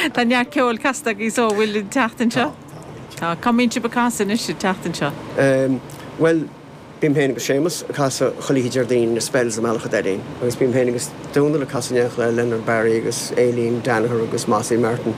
Tá neart ceoil casta agaibh so bhfuil an tseachtain seo? Tá. Cá mbíonn sibh ag casadh anois an tseachtain seo? Bhuel, bím féin agus Séamus ag casadh chuile oíche Déardaoin na Spells i mBealach a' Doirín agus bím féin agus Dónal ag casadh in éineacht le Leonard Barry agus Aileen Danaher agus Mossy Martin.